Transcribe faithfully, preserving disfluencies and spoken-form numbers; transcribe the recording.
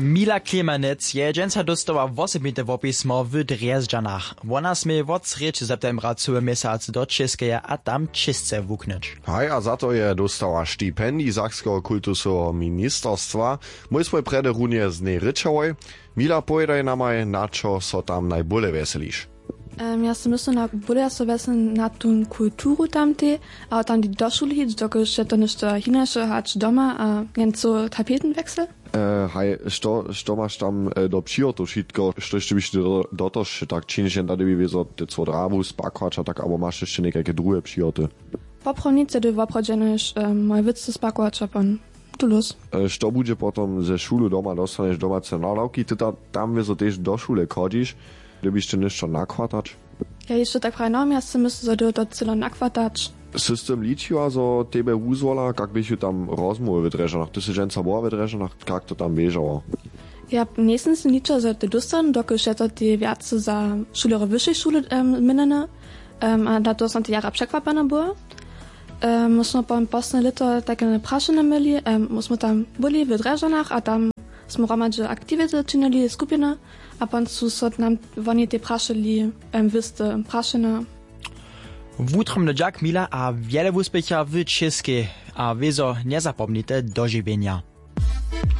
Mila Klemanec je dźensa dóstała wosebite wopismo w Drježdźanach. Wona směje wot srjedź septembra cyły měsac do Čěskeje a tam čěsce wuknyć. Haj, a za to je dóstała stipendij Sakskeho kultusoweho ministerstwa. Mój smój prjedy runje z njej rěčałoj. Mila, powědaj namaj, na čo so tam najbóle wjeseliš? Em, ja so myslu na bóle ja so wjesel na tu kulturu tamtej, a tam do šule hić, dokelž je to něšto hinaše hač doma a jen cyły tapetenweksel. E, haj, što, što maš tam e, do přihotow wšitko, štož ty byš do, do to wše tak činiš, jen da dybi wězo te cwo drawu spakować a tak, abo maš hišće někajke druhe přihoty? Poprawnice ty woprawdźe njež moje wěcy spakować a pon tu lós. E, što budźe potom ze šulu doma, dostaneš domace nadawki, ty ta, tam wězo tež do šule chodźiš, dybiš ty něšto nakwatać? Ja hišće tak praje na ja sy myslu zo ty to cyle nakwatać. Sy z tym ličiła zo tebje wuzwola, kak běchu tam rozmołwy w Drježdźanach, ty sy dźensa była w Drježdźanach, kak to tam běžało? Ja njejsym z tym ličiła zo ty dóstanu dokelž je to tej wjace za šulerjo wyšej šule měnjene. A na to som tej jara překwapjena była. My smy pon posledne lěto tajke prašenje měli, my smy tam byli w Drježdźanach a tam smy hromadźe aktiwity činili skupiny. A pon su so nam woni tej prašeli wěste prašenja. Wutrobny dźak Mila a wjele wuspěcha w Čěskej a wězo njezapomnite dožiwjenja.